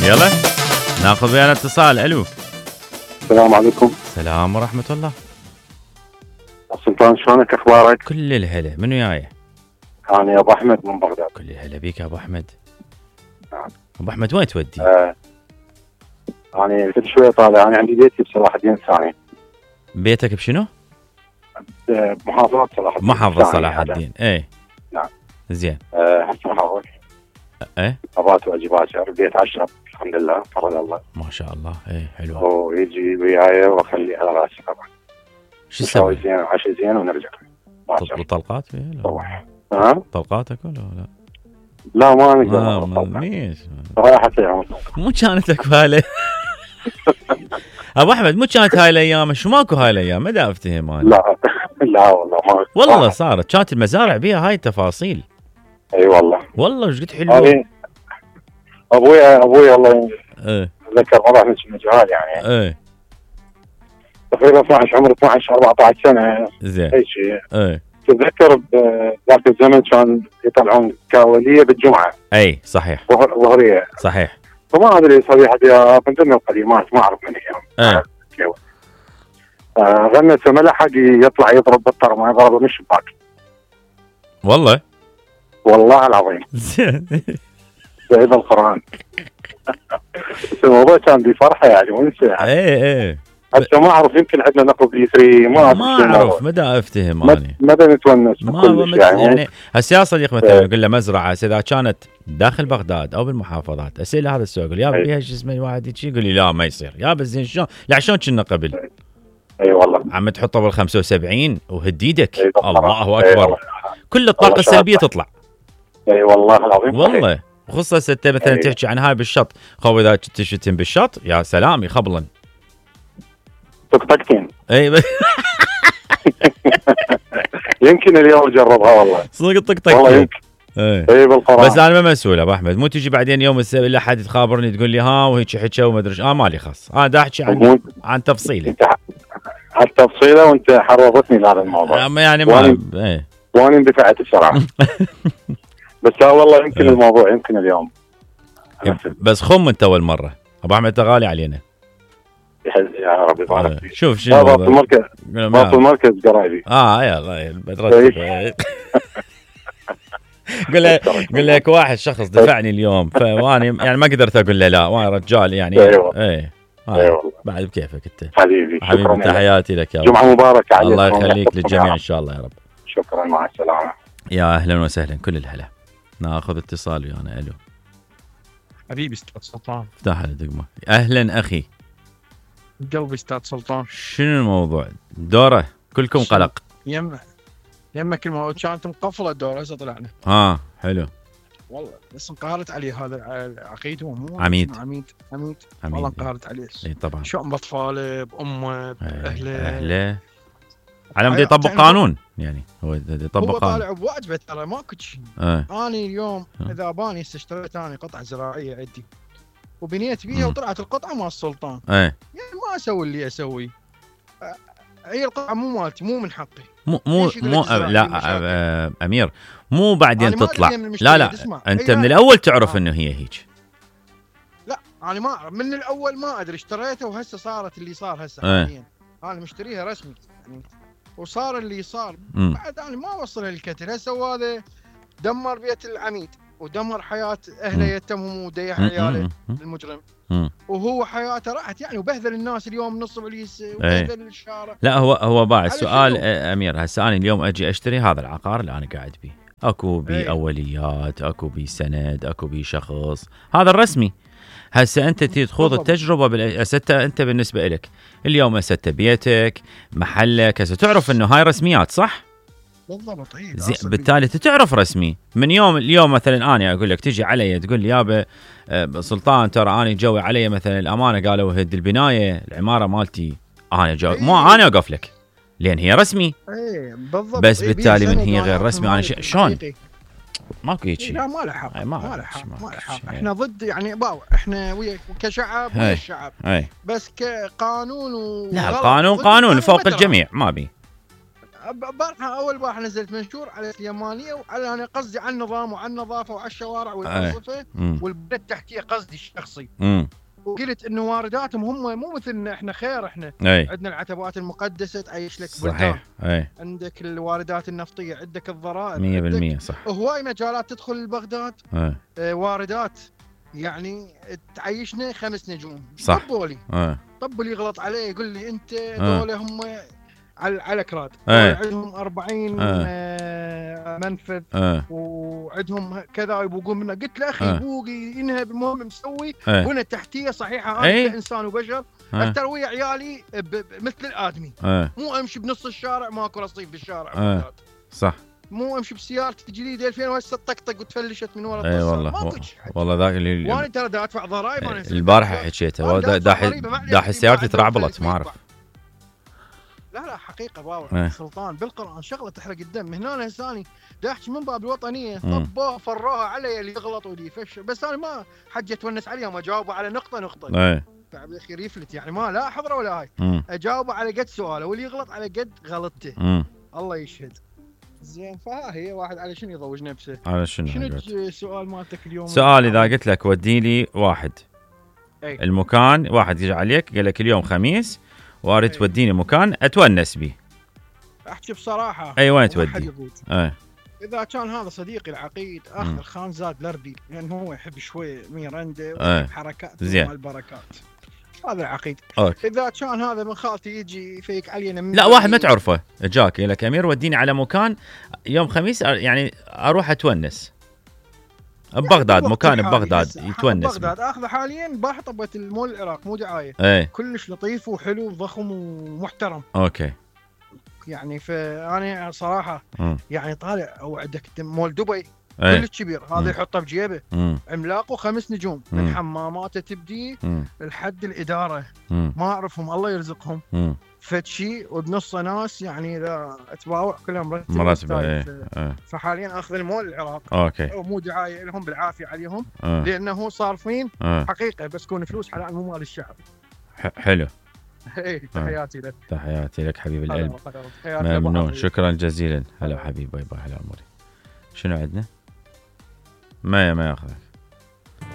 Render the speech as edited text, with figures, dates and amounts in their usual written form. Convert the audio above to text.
يلا ناخذ ويانا اتصال. الو السلام عليكم. السلام ورحمة الله. سلطان شلونك اخبارك؟ كل الهلا. من وياي؟ انا ابو احمد من بغداد. كل الهلا بيك يا ابو احمد. نعم. ابو احمد وين تودي؟ انا كل شويه طالع. انا عندي بيتي بصلاح الدين الثاني. بيتك بشنو؟ محافظة صلاح الدين. محافظة صلاح الدين. ايه نعم. زين. هسه محافظ. ايه ابات واجبات. البيت 10 الحمد لله فضل الله. ما شاء الله. ايه حلو. ويجي وياي واخليه على راسي طبعا. شو تسوي؟ زين عشاء زين ونرجع. تطلق طلقات فيه؟ روح. ها؟ طلقاتك ولا لا؟ لا ما نقدر. ليش؟ راحت يا عمر. مو كانت اكو هاي ابو احمد، مو كانت هاي الايام؟ شو ماكو هاي الايام؟ ما دا افتهم انا. لا لا والله ما. والله صارت كانت المزارع بيها هاي التفاصيل. اي والله وش قد حلوه. ابوي الله ايه اتذكر مره احنا كنا جهال يعني. ايه تقريبا 12 عمري 12 14 سنه. زين. اي شيء. ايه تتذكر بذاك الزمن كان يطلعون كاوليه بالجمعه. اي صحيح. ظهريه. صحيح. فما ادري صريحه يا من ضمن القديمات ما اعرف من هي. ايه غنى ما لحق يطلع يضرب بالطرمه يضربه من الشباك. والله العظيم. زين. بعيد القران. الموضوع كان بفرحه يعني ونسى يعني. ايه هسه ما اعرف يمكن عندنا نقل بي 3 ما اعرف مدى افتهم اني مدى نتونس ما يعني هسه يا صديق مثلا يقول له مزرعه اذا كانت داخل بغداد او بالمحافظات اسئله هذا السؤال يقول يا بيها شو اسمه واحد يقول لي لا ما يصير يا بس زين شلون لا شلون كنا قبل. اي والله عم تحطه بال 75 وهديدك. الله اكبر. أيوة. كل الطاقه السلبيه تطلع. اي والله العظيم. والله خصوصا انت مثلا تحكي عن هاي بالشط خو اذا تشتم بالشط يا سلام يخبلن طقطقتين. اي يمكن اليوم جربها والله. صدق طقطق والله يمكن. اي بالقرآن. بس انا ما مسؤول ابو احمد. مو تجي بعدين يوم السبت الا حد تخابرني تقول لي ها وهيك حكى وما ادري مالي خاص. انا دا احكي عن تفصيله. عن تفصيله وانت حرضتني لهذا الموضوع. يعني ما وانا اندفعت بسرعه. بس لا والله يمكن الموضوع يمكن اليوم. بس خم انت اول مره ابو احمد انت غالي علينا. يا رب يبارك فيك. شوف شنو باطل المركز. باطل المركز قرايبي. يلا بدرتك. قل لك واحد شخص دفعني اليوم فواني يعني ما قدرت اقول له لا وانا رجال يعني. ايوه بعد بكيفك انت حبيبي. تحياتي لك يا جمعه مباركه عليك. الله يخليك للجميع ان شاء الله يا رب. شكرا مع السلامه. يا اهلا وسهلا كل الهلا. ناخذ اتصال ويانا. الو حبيبي استاذ سلطان. افتح الدقمه. اهلا اخي قلبي استاذ سلطان. شنو الموضوع؟ دوره كلكم قلق. يمك الموضوع كانت مقفله الدوره هسه طلعنا. حلو والله بس انقهرت عليه هذا العقيد. هو مو عميد والله انقهرت عليه. اي طبعا. شلون باطفاله بامه باهله على مود يطبق قانون يعني. هو يطبق قانون. هو طالع بواجبه ترى ماكو شيء. انا اليوم اذا باني اشتريت انا قطعه زراعيه عندي وبنيت بيها وطلعت القطعه مال السلطان. يعني ما اسوي اللي اسوي. هي القطعه مو مالتي مو من حقي. مو لا امير مو بعدين تطلع. لا انت من الاول تعرف انه هي هيك. لا انا ما من الاول ما ادري اشتريته وهسه صارت اللي صار هسه حاليا. انا مشتريها رسمي يعني وصار اللي صار. بعد انا ما اوصلها للكتل. هسه هذا دمر بيت العميد ودمر حياه اهله يتمهم وديح عياله المجرم. وهو حياته راحت يعني وبهذل الناس اليوم نص بوليس وبهذل الشارع. لا هو باع السؤال امير. هسه انا اليوم اجي اشتري هذا العقار اللي انا قاعد بيه اكو بي اوليات اكو بي سند اكو بي شخص هذا الرسمي. هسه انت تخوض التجربه انت بالنسبه لك اليوم هسه بيتك محلك هسه تعرف انه هاي رسميات صح؟ بالضبط. بالتالي تعرف رسمي من يوم اليوم. مثلا انا اقول لك تجي علي تقول لي يابا سلطان ترى انا جوي علي مثلا الامانه قالوا هد البنايه العماره مالتي انا مو انا اوقف لك لان هي رسمي. بالضبط. بس بالتالي من هي غير رسمي انا شلون ماكو هيك شيء. لا ما له حق. ما له حق. احنا ضد يعني احنا ويا كشعب ويا الشعب. بس كقانون لا القانون قانون فوق الجميع ما بي. البارحه اول بارحه نزلت منشور على اليمانيه وعلى انا قصدي على النظام وعلى النظافه وعلى الشوارع والانظفه والبنى التحتيه قصدي الشخصي. وقلت انه وارداتهم هم مو مثلنا احنا خير، احنا عندنا العتبات المقدسه تعيش لك صحيح. عندك الواردات النفطيه، عندك الضرائب 100% صح. هواي مجالات تدخل لبغداد واردات يعني تعيشنا 5 نجوم. صح. طب اللي يغلط عليه يقول لي انت دول هم على كراد عندهم 40 منفذ وعندهم كذا يبوقون منه. قلت له اخي بوقي ينهب المهم مسوي بنى تحتيه صحيحه. انا انسان وبشر افتر ويا عيالي مثل الادمي. مو امشي بنص الشارع ماكو رصيف بالشارع. صح. مو امشي بسيارتي جديده 2000 وهسه طقطق وتفلشت من ورا الطسار. والله ذاك اللي وانا ترى دا ادفع ضرائب. انا البارحه حكيته داح سيارتي ترعبلت ما اعرف. لا حقيقه باور سلطان بالقران شغله تحرق الدم. هنا هساني دا احكي من باب الوطنيه طبوها فروها علي اللي يغلط واللي يفشل، بس انا ما حجه اتونس عليهم اجاوبه على نقطه تعب الاخير يفلت يعني ما لا حضره ولا هاي. اجاوبه على قد سؤاله واللي يغلط على قد غلطته. الله يشهد. زين فها هي واحد على شنو يضوج نفسه. على شنو السؤال مالتك اليوم؟ سؤال اذا قلت لك ودي لي واحد المكان، واحد يجي عليك قال لك اليوم خميس واريد توديني مكان اتونس به، احكي بصراحه وين تودي؟ اذا كان هذا صديقي العقيد اخذ الخان زاد لردي لان هو يحب شوي ميرندا وحركات مال البركات. هذا العقيد. اذا كان هذا من خالتي يجي يفيك علينا لا واحد ما تعرفه جاك يقول لك امير وديني على مكان يوم خميس يعني اروح اتونس ببغداد، مكان ببغداد يتونس بغداد اخذه حاليا بحطبه المول العراق مو دعايه. كلش لطيف وحلو وضخم ومحترم. اوكي يعني فانا صراحه يعني طالع او عندك مول دبي كلش كبير هذا يحطه بجيبه عملاق و5 نجوم من حماماته تبدي لحد الاداره ما اعرفهم الله يرزقهم فتشي وبنصه ناس يعني اذا تباوع كلهم مرتبه. فحاليا اخذ المول العراق. اوكي مو دعايه لهم بالعافيه عليهم لانه صارفين حقيقه بس كون فلوس حلال مو مال الشعب. حلو. تحياتي لك. تحياتي لك حبيب القلب. ممنون شكرا جزيلا. هلا حبيبي باي باي. هلا عمري. شنو عندنا؟ ما ياخذك